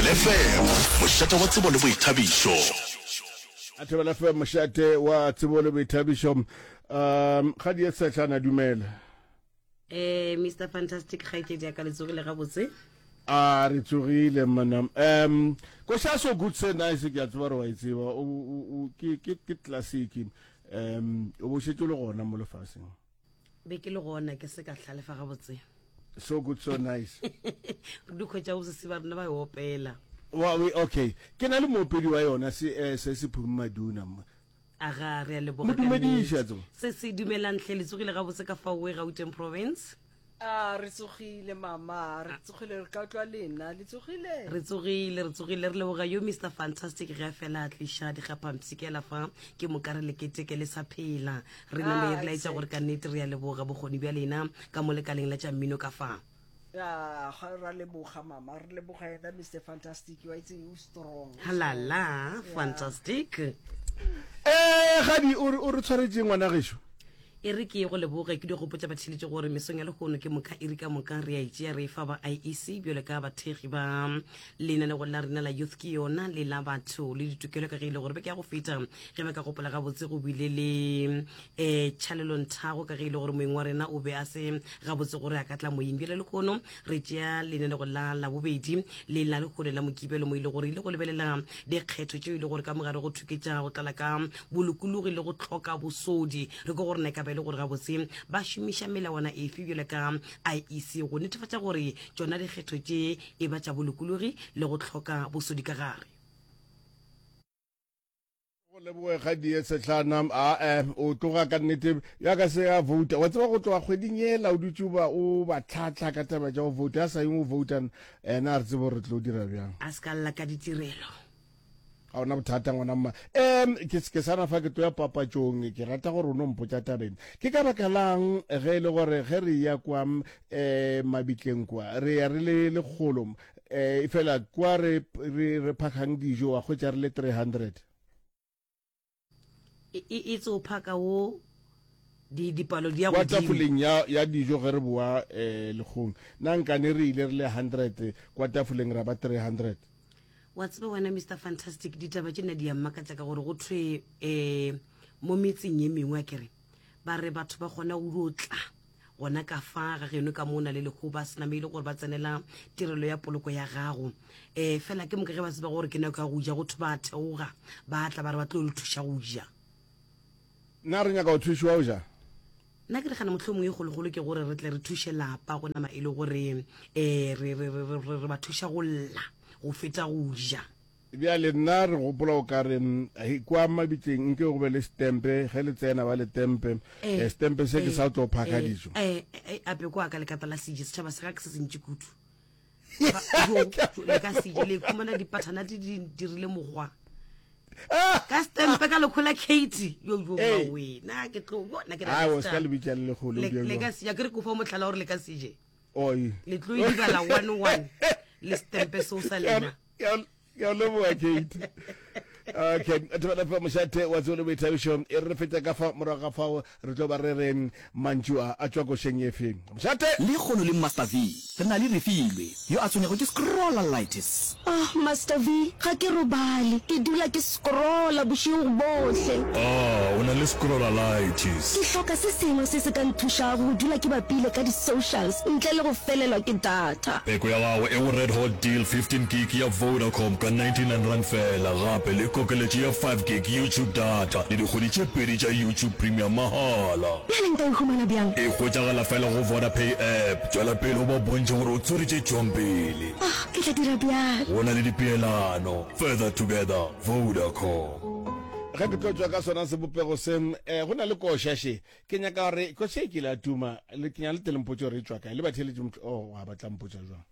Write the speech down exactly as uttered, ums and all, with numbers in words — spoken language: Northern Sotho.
Thobela F M, mošate wa tsebo le boithabišo. A Thobela F M, mošate wa tsebo le boithabišo. Um ga di sehlana, dumela. Eh, Mister Fantastic, kgaetšedi ya ka, le tsogile gabotse? A re tsogile, mana. Um koša So Good So Nice, ke a tseba re wa e tseba. O- o- o- ke ke ke classic. um o bo šetše o le gona mo lefaseng? Be ke le gona, ke se ka hlalefa gabotse. So Good So Nice. Re di kgwetša go sese ba rena ba e opela. Wa we, okay, ke na le moopedi wa yona, se eh, se se Phumi Maduna. Aga, re a leboga mo ka dumediša nnete. Tsebo. Se se dumelang hle, le tsogile gabotse ka faowe Gauteng province? A re tsogile, mama, re tsogile, re ka utlwa lena le tsogile. Re tsogile, re tsogile, re leboga yo Mister Fantastic ge a fela a tliša dikgapampshikela fa, ke moka re leketeke le sa phela re name Ah, re laetša exactly. gore ka nnete re a leboga bokgoni bja lena ka mo lekaleng la tša mmino ka fa. A ga ra leboga, mama, re leboga yena Mister Fantastic, wa itse o strong o strong. Halala fantastic. Eh gadi, o re o re tshwaretse ngwana gešo. E re ke ye go leboge, ke di gopotša batheletše gore mesong ya lehono ke moka iri ka moka re a itšea re e fa ba I E C bjalo ka bathekgi ba lenanego la rena la Youth Ke Yona le la Batho le Ditokelo, ka ge e le gore beke ya go feta, ge ba ka gopola gabotse, go bile le um tšhalelonthago ka ge e le gore moeng wa rena o be a se gabotse gore a ka tla moyeng. Bjale lehono re tšea lenanego la Labobedi le la lehono la Mokibelo, mo e le gore ile go lebelela dikgetho tšeo e le gore ka mogare go thuketša go tlala ka bolokologi le go tlhoka bosodi. Re ko gore na e ka ba e le gore gabotse ba šomiša melawana efe bjalo ka I E C go netefatša gore tšona dikgetho tše e ba tša bolokologi le go tlhoka bosodi ka gare. Go leboge ga die sehlana. A eh o tloga ka nnete ya ka se ya vote, wa tseba, go tloga kgweding yela o dutše o ba o ba tlhatlha ka taba tša go vote, a sa yeng o vouta ena, a re tsebe gore re tlo dira bjang. A se ka lla ka ditirelo. Ga ona bothata, ngwana mma. um ke ke sana fa ke tlo ya papatšong, ke rata gore o no mpotša tabeng, ke ka baka lang ge e le gore ge re ya kwa um mabitleng kwa re ya re le lekgolo, um fela kwa re re re phakgang dijo wa kgwetša re le three hundred? E e e tse o phaka wo di dipalo di ya Kwa godimo. Tafoleng ya ya dijo ge re boa um lekgong, na nkane re ile re le hundred, kwa tafoleng ra ba three hundred? Wa tseba wena, Mister Fantastic, ditaba tše nna di ya mmakatša ka gore go thwe um mo metseng ye mengwe a kere ba re batho ba kgona go dio tla gona ka fa ga geno ka mo o na le leho ba sename e le gore ba tsenela tirelo ya poloko ya gago, um fela ke moka ge ba tseba gore ke nako ya go ja, go thwe ba theoga ba tla ba re ba tlo le thuša go ja. Nna re nyaka go thušiwa go ja? Nna ke nagana mohlomongwe e kgologolo ke gore re tle re thuše lapa go nama e le gore um re re- re- re- re- re ba thuša go lla go feta go ja. Bjale nna re gopola o ka re mm, hei, kwa mabitleng nke go be le stempe, ge le tsena ba le tempe. Eh, Eh, stempe se ke eh, sa tlo phaka eh, dijo. eh, eh, ape kwa ka lekata la seje, setšhaba se ga ke se sentši kudu. Ba- jo, jo, le ka seje le khumana dipathana di di dirile mokgwa ka stempe ka lekgola Kate yo yo. Ee. Mawe, na ke tlo yo, nna ke Ai, o se ka le bitša le lekgolo. le bjang le jwang? ka seja, ke re ko fa motlhala gore le ka seje. Oi. Le tlo e dibala one one le stempe seo sa lena. Ke a- ke a leboga, Kate. Okay, Thobela F M, mošate wa tsebo le boithabišo. E re re feta ka fa, morago ga fao re tlo ba re re mantšu a a tšwa košeng efe, mošate. Lekgono le Master V re na le Refilwe yo a tshwenyago ke scrollalitis. Ah, Master V, ga ke robale. Ke dula ke scrolla bošego bohle. Ah, o na le scrollalitis. Ke hloka se sengwe se se ka nthušago go dula ke bapile ka di-socials ntle le go felelwa ke data. Peko ya gago e go Red Hot Deal fifteen gig ya Vodacom ka ninety-nine rand fela, gape le kokeletšo ya five gig YouTube data le dikgwedi tše pedi tša YouTube Premium mahala. Bjale nka e humana bjang? E hwetšagala fela go Vodapay app. Tšwela pele o ba bontšhe gore o tswere tše tšwang pele. Ah, ke tla dira bjalo. Go na le dipeelano. Further together, Vodacom. Ge ke tlo tšwa ka sona sebopego se, um go na le koša še ke nyaka gore koša e kile a tuma le ke nyaka le telempotse gore e tšwa kae le batheletše. Oh, wa batla mpotša jwang?